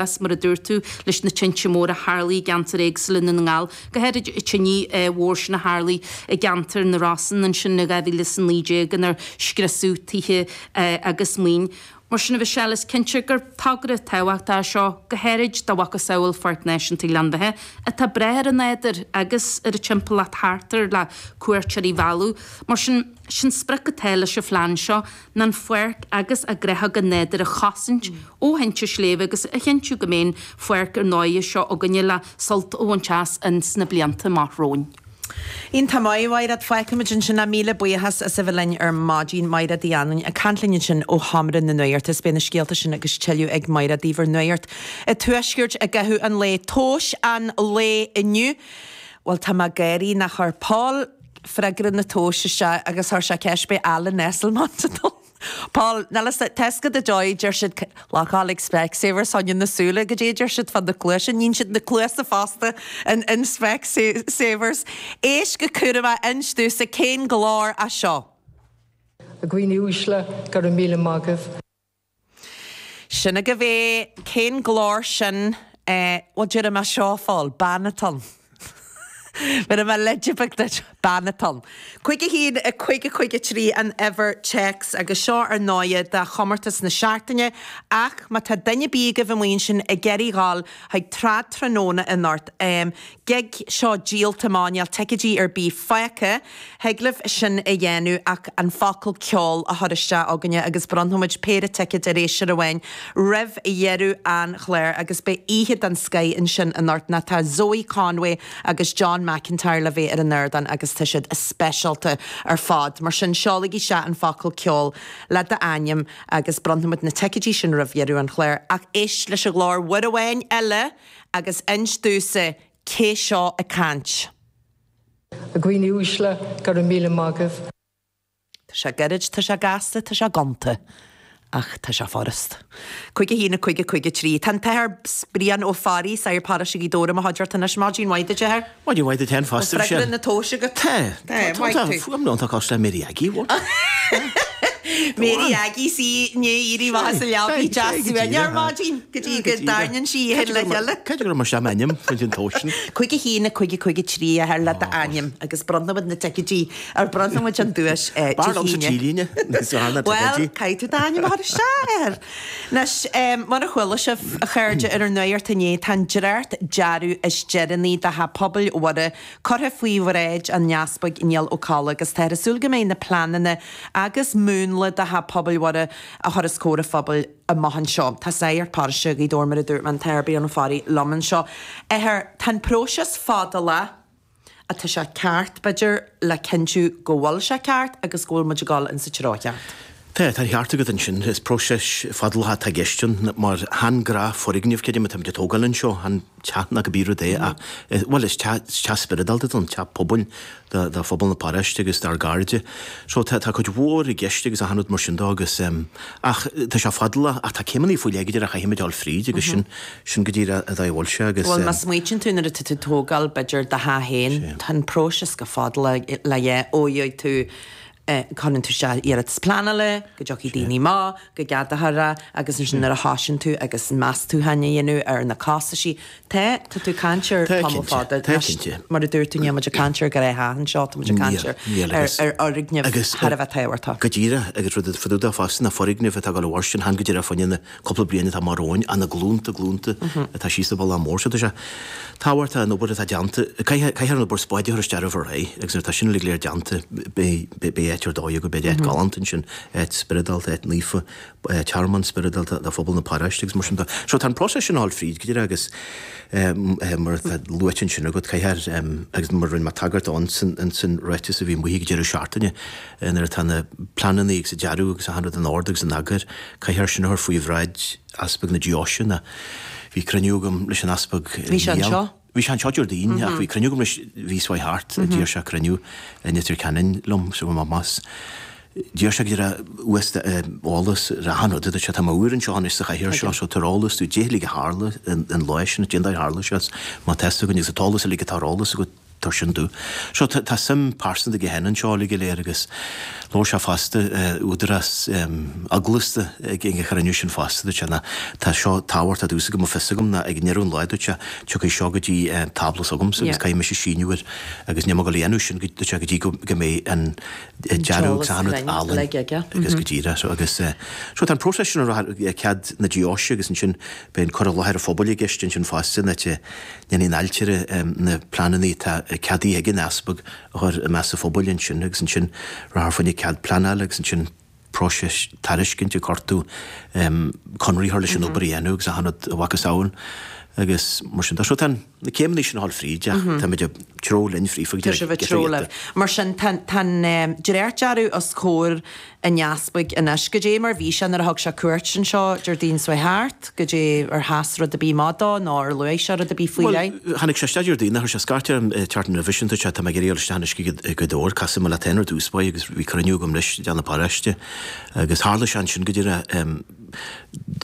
Is mar a dúirt tú, leis na tinte móra a tharlaigh i gceantair éagsúla i nDún na nGall, go háirid an tine mhór sin a tharlaigh i gceantar na Rosann ansin in 2019 inar scriosadh tithe agus maoin. Mar sin, a Mhichelle, is cinnte gur togra tábhachtach é seo, go háirid do mhacasamhail Pháirc Náisiúnta Ghleann Bheatha, atá breá ar an nádúr agus ar an timpeallacht thart air le cuairteoirí a mhealladh. Mar sin, sin sprioc atá leis an phlean seo. ná an pháirc agus a gnáthóga nádúrtha a chosaint ó thinte sléibhe agus a chinntiú go mbeidh an pháirc ar ndóigh seo againne le sult a bhaint as ins na blianta amach romhainn. Iontach maith, a Mhaighread. Fágfaimid ansin é. Míle buíochas as a bheith linn ar maidin. Maighread Uí Anluain ag caint linn ansin ó Sheomra na Nuachta. Is beidh na scéalta sin agus tuilleadh ag Maighread daoibh ar Nuacht an Tuaiscirt i gcaitheamh an lae. Tomhais an lae inniu. Bhuel, tá mé ag gáirí nach chuir Paul freagra na tomhaise isteach agus chuir sé ceist beidh Alan Esslemont ann. Paul, Níl fhios a'd, tá fhios agat an dóigh, deir siad lock ag Specsavers fá choinne na súile, goidé a deir siad fá na cluaise, níonn siad na cluasa fosta in in Specsavers. Éist go cúramach, inis domhsa cén glór é seo? A dhaoine uaisle, go raibh míle maith agaibh. Sin agaibh é. Cén glór sin? Eh, bhuel, déarfaidh mé seo, a Phóil, bean atá ann. Bhéarfaidh mé leide beag duit, bean atá ann. 5 1 5 5 3 an uimhir téacs agus seo ar ndóighe do chomórtas na seachtaine ach má tá duine ar bith agaibh amuigh ansin ag iarraidh dhul chuig Trad Tráthnóna anocht, em, gig seo díolta amach, níl ticéidí ar bith fágtha. Thig libh sin a dhéanamh ach an focal ceol a chur isteach chugainne agus bronnfaimid péire ticéad ar seisear amháin roimh dheireadh an chláir agus beidh oíche den scoith ansin anocht nó tá Zoe Conway agus John McIntyre le bheith ar an ardán agus tá siad speisialta ar fad. Mar sin seolaigí isteach an focal ceol le d'ainm agus bronnfaimid na ticéidí sin roimh dheireadh an chláir. Ach éist leis an ghlór uair amháin eile agus inis domhsa cé seo ag caint. A dhaoine uaisle, go raibh míle maith agaibh. Tá sé gairid, tá sé gasta, tá sé gonta, ach tá sé furast. 5 1 5 5 3. Tá an tAthair Brian Ó Fearraigh, Sagart Paróiste Ghaoth Dobhair i mo chuideachta anois. Maidin mhaith duit, a Athair. Maidin mhaith duit féin fosta, Bhfuil freagra na tomhaise agat? Tá. Tá, maith thú. Tá fuaim iontach cosúil le Mary Aggie, bhfuil? Mary Aggie 's í i ndiaidh éirí amach as a leabaidh deas suaimhneach ar maidin go dtí go dtarraingíonn sí í féin le chéile. Cé go raibh mar seo m'ainm faoin an tomhas sin? 5 1 5 5 3 a Athair le d'ainm agus bronnfaimid na ticéidí ar bronnfaimid an duais Dé B'fhearr liomsa hAoine. trílíne níos fearr ná Bhuel, ticéidí. caithfidh tú d'ainm a chur isteach, a Athair. Anois, mar a chuala sibh, a chairde, ar an nuacht inné, tá an dréacht dearadh is deireanaí do Theach Pobail Mhuire curtha faoi bhráid an Easpaig Niall Ó Colla agus táthar ag súil go mbeidh na pleananna agus múnla do Theach Pobail Mhuire a chur os comhair an phobail amach anseo. Tá Sagart Paróiste Ghaoth Dobhair, mar a dúirt mé, an tAthair Brian Ó Fearraigh liom anseo. Athair, tá an próiseas fadálach ach tá sé ceart, b'fhéidir, le cinntiú go bhfuil sé ceart agus go bhfuil muid ag dul in sa treo cheart. Tá, tá an ceart agat ansin. Is próiseas fadálach atá i gceist ann mar chan gnáthfhoirgneamh creidim atáimid ag tógáil anseo, chan teach ná cibé rud é ach, bhuel, is teach, is teach spioradálta atá ann, teach pobail do, do phobal na paróiste agus dár gcairde. So tá, tá cuid mhór i gceist agus achan rud mar sin dó agus em, ach tá sé fadálach ach tá céimeanna faoi leith go díreach a chaithfimid dul fríd agus sin, sin go díreach an dóigh a bhfuil sé agus Bhuel, má em. smaoitíonn tú nuair atá tú ag tógáil, b'fhéidir, do theach féin, tá an próiseas go fadálach le dhá, ó gheobhaidh tú Cuireann tú isteach iarratas pleanála, go dtiocfaidh daoine amach, go gceadófar é agus ansin nuair a thosaíonn tú agus meastúcháin a dhéanamh ar na costaisí, tá, tá tú ag caint ar Tá tamall cinnte, fada. tá Anois, cinnte. mar a dúirt tú, níl muid ag caint ar ghnáth-theach anseo, tá muid ag caint Níl, ar, níl ar, agus, ar fhoirgneamh agus thar a bheith tábhachtach. go díreach agus rud fá dtaobh de fosta ná foirgneamh atá ag dul a mhairstin, chan go díreach fá choinne na cúpla bliain atá amach romhainn, ach na glúnta, glúnta atá síos an bealach mór. So tá sé tábhachtach an obair atá déanta, caithfidh, caithfear an obair spáid a chur isteach roimh ré agus nuair atá sin uilig go léir déanta beidh, beidh áit ar dóigh againn, beidh áit galánta ansin, áit spioradálta, áit naofa, tearmann spioradálta do phobal na paróiste agus mar sin de. So tá an próiseas sin ag dul fríd go díreach agus mar atá luaite ansin agat, caithfear, agus mar rinne mé tagairt dó ins an ráiteas a bhí amuigh ag deireadh seachtaine, Nuair atá na pleananna agus an dearadh agus achan rud in ord agus in eagar, caithfear sin a chur faoi bhráid Easpag na Deoise. Nó bhí cruinniú agam leis an Easpag Bhí sé Niall. anseo? Bhí sé anseo Déardaoin ach bhí cruinniú agam leis mhí seo thart, d'iarr sé cruinniú i Leitir Ceanainn liom so bhí mé amach. D'iarr sé go raibh uasta eolas ar achan rud a dúirt sé, tá mé úr anseo anois sa chathaoir seo so tabhair eolas domh, dé uilig a tharla an lá sin, dén dóigh a tharla sé, má tá fhios againn agus an t-eolas uilig atá ar eolas agat. tabhair sin domh. So tá tá suim pearsanta aige féin anseo uilig go léir agus labhair sé fosta údarás eaglasta ag an chruinniú sin fosta dúirt sé ná tá seo tábhachtach domhsa go mbeadh fios agam ná ag ndeireadh an lae dúirt sé tiocfaidh seo go dtí tábla s'agamsa agus caithfidh mise síniú air agus níl mé ag dul a dhéanamh sin dúirt sé go dtí go go mbeidh an dearadh agus achan rud álainn agus go díreach so agus so tá an próiseas sin ar cead na deoise agus ansin beidh an cur i láthair an phobail i gceist ansin fosta ná te Déanfaidh an ailtire na pleananna atá ceadaithe ag an easpag a chur i measc an phobail ansin agus ansin rachfar fá choinne cead pleanála agus ansin próiseas tairiscinte cuartú conradh a chur leis an obair a dhéanamh agus achan rud a mhacasamhail agus mar sin de. So tá na céimeanna sin a dhul fríd ach táimid ag treo linn fríofa go Tá sibh ag treo libh. Mar sin tá an dréachtdearadh os comhair an easpaig anois. Goidé mar bhí sé nuair a thug sé cuairt anseo Déardaoin seo thart? Goidé ar sheas rud ar bith amach dó nó ar luaigh sé rud ar bith faoi Bhuel, leith? tháinig sé isteach Déardaoin, chuir sé scairt orm an tseachtain roimhe sin, dúirt sé, tá mé ag iarraidh dul isteach anois go Gaoth Dobhair, casfaidh mé leat féin ar dtús báire agus bhí cruinniú agam leis i dteach na paróiste agus tharla sé ansin go díreach,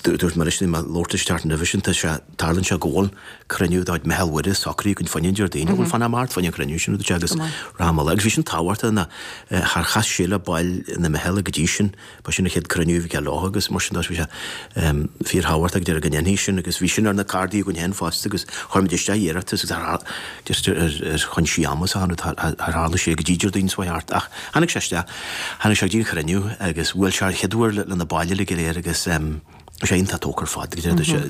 dúirt mé leis, bhí mé ag labhairt leis an tseachtain roimhe sin, tá sé, tarlaíonn sé go bhfuil cruinniú dá Meitheal Mhuire socraithe againn fá choinne an Déardaoin, bhuel fan amach fá choinne an chruinniú sin, a dúirt sé, agus rachaidh mé leis. Agus bhí sin tábhachtach ná char chas sé le baill na Meithle go dtí sin, ba sin an chéad cruinniú a bhí aige leo agus mar sin de bhí sé fíorthábhachtach go deireadh go ndéanfaí sin agus bhí sin ar na cárdaí againn féin fosta agus chuir muid isteach iarratas agus ar just ar chúinsí ama is achan rud char tharla sé go dtí Déardaoin seo thart ach tháinig sé isteach, tháinig sé go dtí an chruinniú agus bhuail sé an chéad uair le na baill uilig go léir agus bhí sé iontach tógtha ar fad go deireadh sé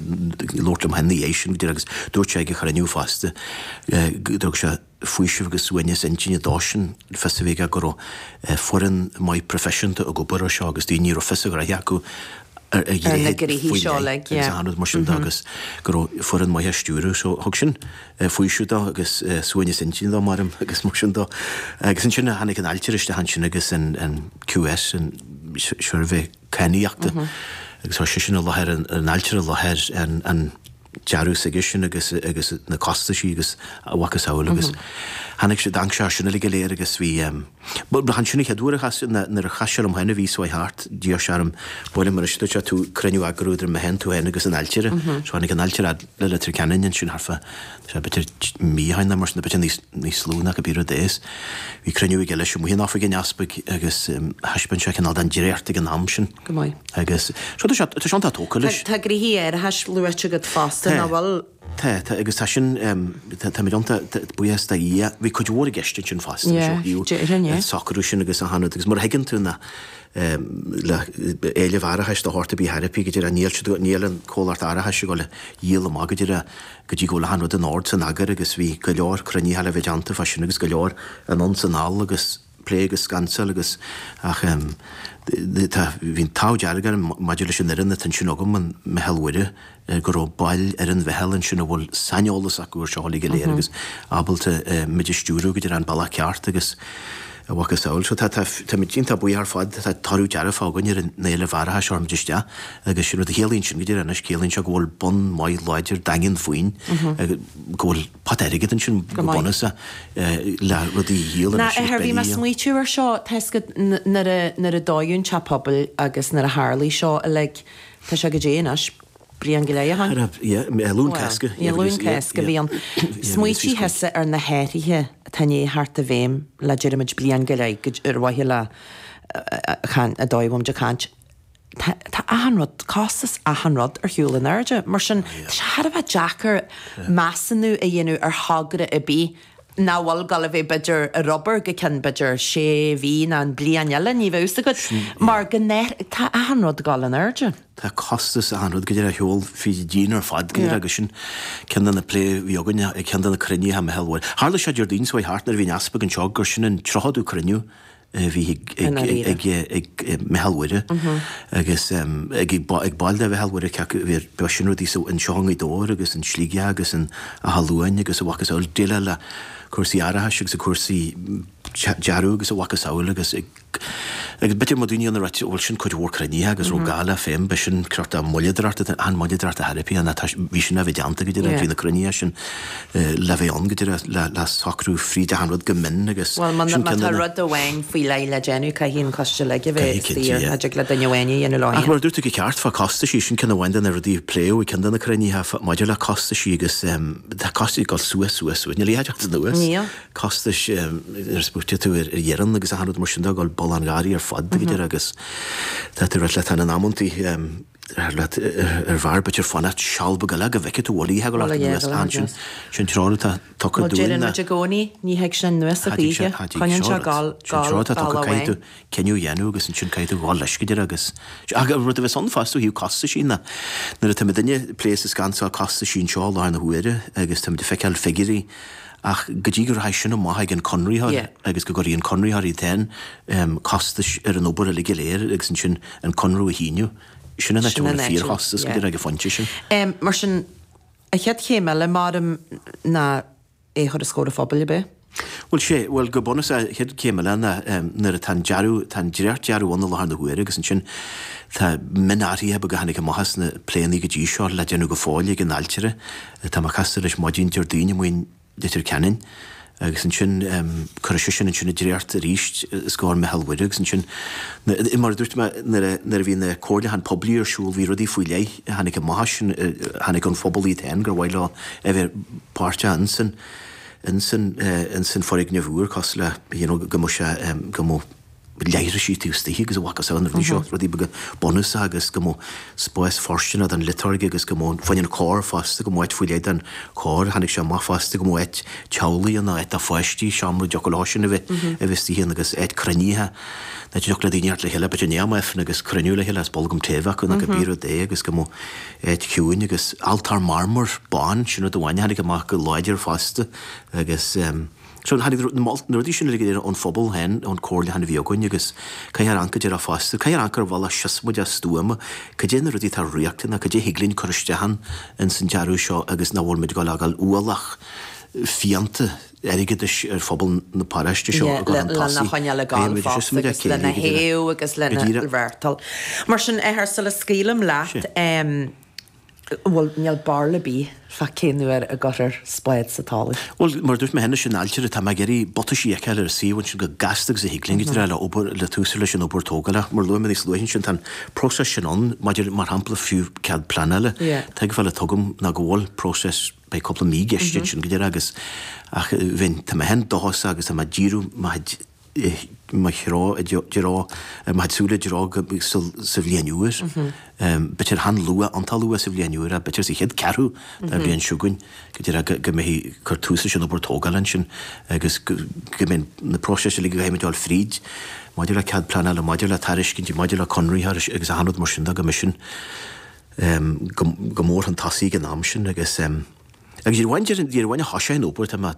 labhairt liom féin ina dhiaidh sin go deireadh agus dúirt sé ag an chruinniú fosta go dtug sé faoiseamh agus suaimhneas intinne dósan fios a bheith aige go raibh foireann maith proifisiúnta ag obair ar seo agus daoine a raibh fios a ghraithe acu ar ar na gnoithí faoi seo leith uilig, agus yeah. achan rud mar sin de agus go raibh foireann maith á stiúradh. So thug sin faoiseamh dó agus suaimhneas intinne dó maram agus mar sin de. Agus ansin tháinig an ailtire isteach ansin agus an QS, an suirbhé cadhnaíochta agus chuir seisean i láthair an ailtire i láthair an dearadh s'aige sin agus agus na costaisí agus a mhacasamhail agus tháinig sé d'amharc sé air sin uilig go léir agus bhí bhuel ba ansin an chéad uair a chas nuair a chas sé liom féin an mhí seo thart d'iarr sé orm buail liom anois dúirt sé tú cruinniú a eagrú idir mé féin tú féin agus an ailtire so tháinig an ailtire fhad le Leitir Ceanainn ansin thart fá sé b'fhéidir mí ó shin nó mar sin b'fhéidir níos níos lú ná cibé rud é is bhí cruinniú aige leis amuigh in oifig an easpaig agus thaispeáin sé cineál den dréacht ag an am sin. Go maith. Agus so tá sé tá sé iontach tógtha leis. Tá gnoithí árachais luaite agat fosta, Tá. nach bhfuil? Tá, tá agus tá sin tá táimid iontach buíochas do Dhia. Bhí cuid mhór i gceist ansin fosta Yeah, ó thaobh déarfainn, yeah. an socrú sin agus achan rud agus mar a thuigeann tú ná le éileamh árachais de shórt ar bith ar bith go díreach níl siad níl an comhlacht árachais ag dul a dhíol amach go díreach go dtí go bhfuil achan rud in ord 's in eagar agus bhí go leor cruinnithe le bheith déanta fá sin agus go leor anonn 's anall agus plé agus scansáil agus ach tá bhí an t-ádh dearg orm maidir leis an fhoireann atá ansin agam, an Meitheal Mhuire, go raibh baill ar an mheitheal ansin a bhfuil saineolas acu ar seo uilig go léir agus ábalta muid a stiúradh go dtí an bealach ceart agus a mhacasamhail. So tá tá táimid iontach buíoch ar fad, tá toradh dearfach againn ar an éileamh árachais a chuir muid isteach agus sin rud a chiallaíonn sin go díreach anois, ciallaíonn sé go bhfuil bonn maith láidir daingean faoin go bhfuil pota airgid ansin go bunúsach le rudaí a dhíol Ná anois agus bhí mé beidh a. smaoitiú ar seo, tá 'fhios agat nuair a nuair a dódh an teach pobail agus nuair a tharlaigh seo uilig, tá sé goidé anois, bliain go leith ó shin? Yeah, Luan Cásca. Yeah, Luan Cásca a bhí ann. Smaoitigh thusa ar na hathruithe atá i ndiaidh theacht i bhfeidhm le déarfaimid bliain go leith ar mhaithe le an dóigh a bhfuilimid ag caint. Tá tá achan rud, costas achan rud ar shiúl in airde. Mar sin, tá sé thar a bheith deacair measúnú a dhéanamh ar thogra ar bith nach bhfuil ag dul a bheith b'fhéidir ar obair go ceann b'fhéidir sé mhí nó an bliain eile, ní bheadh fhios agat, mar go tá achan rud ag dul in airde. Tá costas achan rud go deireadh ar shiúl fríd an díon ar fad go deireadh agus sin ceann de na plé a bhí againn ag ceann de na cruinnithe Meitheal Mhuire. Tharla sé Déardaoin seo thart nuair a bhí an Easpag anseo gur sin an 30ú cruinniú a bhí ag Meitheal Mhuire agus ag baill de Mheitheal Mhuire cé acu a bhí ar sin rudaí anseo i nGaoth Dobhair agus in Sligeach agus in Áth Luain agus a mhacasamhail déileáil le cúrsaí árachais agus cúrsaí dearadh agus a mhacasamhail agus ag. Agus b'fhéidir má daoine ann a ráit, bhuel sin cuid mhór cruinnithe agus raibh gá le féin, b'é sin crot de moilleadóireacht, an moilleadóireacht a therapy ann, tá, bhí sin le bheith déanta go deireadh, bhí na cruinnithe sin le bheith ann go deireadh, le, le socrú fríd achan rud go mion agus Bhuel, má sin tá ceann de na. rud amháin faoi leith le déanamh, caithfidh an coiste uilig a bheith Caithfidh, cinnte, saor, yeah. cha dtig le duine amháin a dhéanamh leo Ach féin. mar a dúirt tú go ceart fá costaisí, sin ceann amháin de na rudaí a pléadh i gceann de na cruinnithe fá, maidir le costaisí agus tá costaisí ag dul suas, suas, suas, níl a fhios a'd anuas. Níl. costais nuair a smaoitíonn tú ar fhoireann agus achan rud mar sin de, ag dul bulán gáirí ar fad go deireadh agus tá tú leat in amantaí ar leat ar bharr b'fhéidir fanacht seal beag eile go bhfeicfidh tú bhfuil oíche ag dul anuas ansin sin treoir atá tugtha Bhuel dúinn deireann ná muid i gcónaí ní thig sé anuas a choíche, coinníonn sé ag sin gabháil treoir atá tugtha bealach caithfidh tú amháin. cinneadh a dhéanamh agus ansin caithfidh tú dhul leis go deireadh agus ach an rud a bheas ann fosta ó thaobh costaisí ná nuair atá muidinne ag plé is ag scansáil costaisí anseo i láthair na huaire agus táimid ag feiceáil figiúirí Ach go dtí go rachaidh sin amach ag an conraitheoir agus go gcuirfidh an conraitheoir iad féin costais ar an obair uilig go léir agus ansin an conradh a shíniú, sin an áit a bhfuil an fíorchostas go deireadh ag an phointe sin. Mar sin, an chéad chéim eile, maram, ná é a chur os comhair an phobail, ab é? Bhuel, sé, bhuel, go bunúsach, an chéad chéim eile ná nuair atá an dearadh, tá an dréacht-dearadh ann i láthair na huaire agus ansin tá mionathruithe beaga a tháinig amach as na pléanna go dtí seo le déanamh go fóill ag an ailtire. Tá mé casta leis maidin Déardaoin amuigh in Leitir Ceanainn agus ansin cuirfidh seisean ansin an dréacht arís os comhair Mhicheál Mhuire agus ansin mar a dúirt mé nuair a nuair a bhí na comhairliúcháin poiblí ar siúl bhí rudaí faoi leith a tháinig amach as sin a tháinig ón phobal iad féin gur mhaith leo a bheith páirteach insan insan insan foirgneamh úr cosúil le you know go mbeadh sé go mbeadh leithrisí taobh istigh agus a mhacasamhail na rudaí seo, rudaí beaga bunúsacha agus go mbeadh spás fóirsteanach don liotúirge agus go mbeadh fá choinne an chór fosta, go mbeadh áit faoi leith don chór. Tháinig sé amach fosta go mbeadh áit teaghlaigh ann, áit do pháistí, seomra a dtiocfadh leo sin a bheith a bheith istigh ann agus áit cruinnithe, áit a dtiocfadh le daoine theacht le chéile, b'fhéidir i ndiaidh am Aifrinn agus cruinniú le chéile is bolgam tae a bheith acu nó cibé rud é agus go mbeadh áit chiúin agus altóir marmair bán, sin rud amháin a tháinig amach go láidir fosta agus. So tháinig na rudaí sin uilig go léir ón phobal féin, ón comhairliúchán a bhí againn agus caithfear amharc go deireadh fosta, caithfear amharc ar bhealach siosmaideach stuama, cad é na rudaí atá riachtanach, cad é thig linn cur isteach ann ins an dearadh seo agus nach bhfuil muid ag dul a fhágáil ualach fiánta airgeadais ar phobal na paróiste seo Yeah, ag dul le, chun lena tosaigh. choinneáil ag Caithfidh gabháil muid fosta siosmaideach agus lena céillí go deireadh. thaobh agus Go lena díreach. mhaireachtáil. Mar sin, athair, sula scaoilim leat, Sé. em, Bhuel, níl barúil ar bith fá cén uair a gcuirfear spád sa talamh. Bhuel, mar a dúirt mé cheana, sin ailtire, tá mé ag iarraidh butaisí a fheiceáil ar an suíomh ansin chomh gasta agus a thig linn go dtráth le obair, le tús a chur leis an obair tógála. Mar a luaigh mé níos luaithe ansin, tá an próiseas sin ann maidir, mar shampla, fiú cead pleanála. Tuigbheáil atá agam ná go bhfuil próiseas, beidh cúpla mí i gceist ansin go deireadh agus, ach bheinn, tá mé féin dóchasach agus tá mé ag díriú mo chuid, mo threo i dtreo, mo chuid súile i dtreo go sa bhliain úr. B'fhéidir chan luath, iontach luath sa bhliain úr, ach b'fhéidir sa chéad ceathrú den bhliain seo chugainn, go deireadh go mbeidh cur tús leis an obair tógála ansin agus go mbeidh na próisis uilig a gcaithfidh muid dul fríd maidir le cead pleanála, maidir le tairiscintí, maidir le conraí agus achan rud mar sin de, go mbeidh sin go mór chun tosaigh ag an am sin agus agus ní amháin, ní amháin a thoiseoidh an obair, tá mé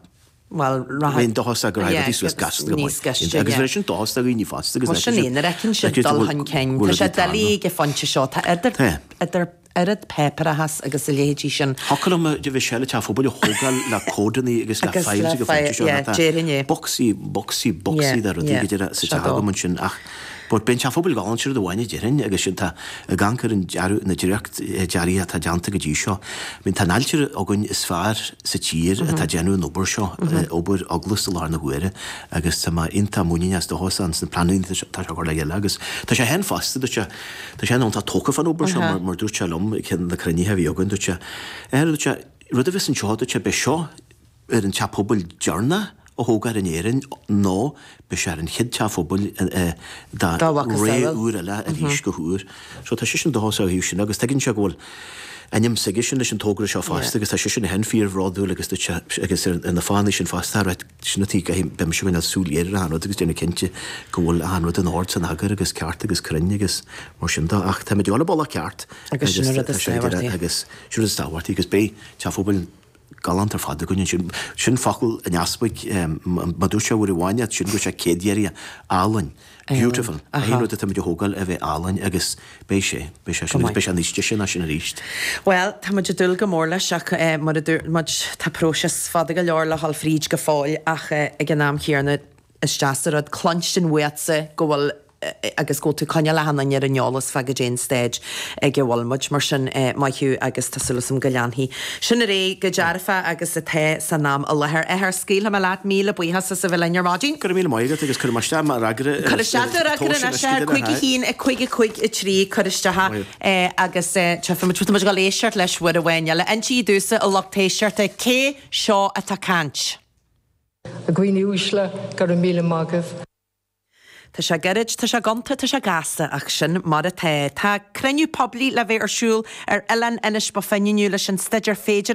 Bhuel, rachaidh. Bheinn dóchasach go rachaidh rudaí suas gasta go níos maith. gaiste, Agus yeah. bheadh sin dóchasach do dhaoine fosta agus Bhuel, sin é, nuair a fheiceann siad dul chun cinn, tá sé doiligh ag an phointe seo, tá idir, idir oiread páipéarachas agus a leithéidí sin. Thiocfadh liom a bheith sé le teach phobail a thógáil le comhadanna agus le Agus files le ag an phointe seo, yeah, tá déarfainn é. bocsaí, bocsaí, bocsaí Yeah, de rudaí yeah, go deireadh sa seo teach dó. agam ansin ach But beidh an teach phobail galánta, sin rud amháin a déarfainn agus sin tá ag amharc ar an dearadh, na dréacht dearaí atá déanta go dtí seo. I mean tá an ailtire againn is fearr sa tír atá ag déanamh an obair seo, obair eaglasta i láthair na huaire agus tá mé iontach muiníneach is dóchasach ins na pleananna atá sé a chur le chéile agus tá sé féin fosta, dúirt sé, tá sé féin iontach tógtha fán obair seo mar mar dúirt sé liom ag ceann de na cruinnithe a bhí againn, dúirt sé, eh dúirt sé, rud a bheas anseo, dúirt sé, beidh seo ar an teach pobail deireanach a thógfar in Éirinn nó beidh sé ar an chéad teach pobail dá ré úr eile arís go húr. So tá seisean dóchasach ó thaobh sin agus tuigeann sé go bhfuil ainm s'aigesean leis an togra seo fosta agus tá seisean féin fíorbhródúil agus dúirt sé agus ar na fáthanna sin fosta right sin an tuige beidh mise ag coinneáil súil ghéar ar achan rud agus déanamh cinnte go bhfuil achan rud in ord san eagar agus ceart agus cruinn agus mar sin de ach táimid ag dul an bealach ceart agus sin an rud is tábhachtaí. Agus sin rud is tábhachtaí agus beidh teach phobail galánta ar fad againn ansin. Sin focal an easpaig, má dúirt sé uair amháin é, sin go raibh sé céad-iarraidh álainn. Beautiful. Aon rud atáimid a thógáil a bheith álainn agus beidh sé, beidh sé sin agus beidh sé níos deise ná sin arís. Bhuel, tá muid ag dúil go mór leis ach mar a dúirt muid, tá próiseas fada go leor le dhul fríd go fóill ach ag an am chéanna is deas an rud cluinstin uatsa go bhfuil. agus go bhfuil tú ag coinneáil achan duine ar an eolas fá goidé an staid ag a bhfuil muid. Mar sin, maith thú agus tá súil agam go leanfaidh sin ar aghaidh go dearfa agus atá san am i láthair. Athair, scaoilfidh mé leat, míle buíochas as a bheith linn ar maidin. Go raibh míle maith agat agus cuirfidh mé isteach mo fhreagra Cuir isteach do fhreagra anois, 5 1 5 5 3, cuir isteach é agus tchífidh muid. Tá muid ag dul éisteacht leis uair amháin eile. Insígí domhsa, a lucht éisteachta, cé seo atá ag caint? A dhaoine uaisle, go raibh míle maith agaibh. Tá sé gairid, tá sé gonta, tá sé gasta, ach sin mar atá. Tá cruinniú poiblí le bheith ar siúl ar Oileán Inis Bó Finne inniu leis an staidéar féidearthachta.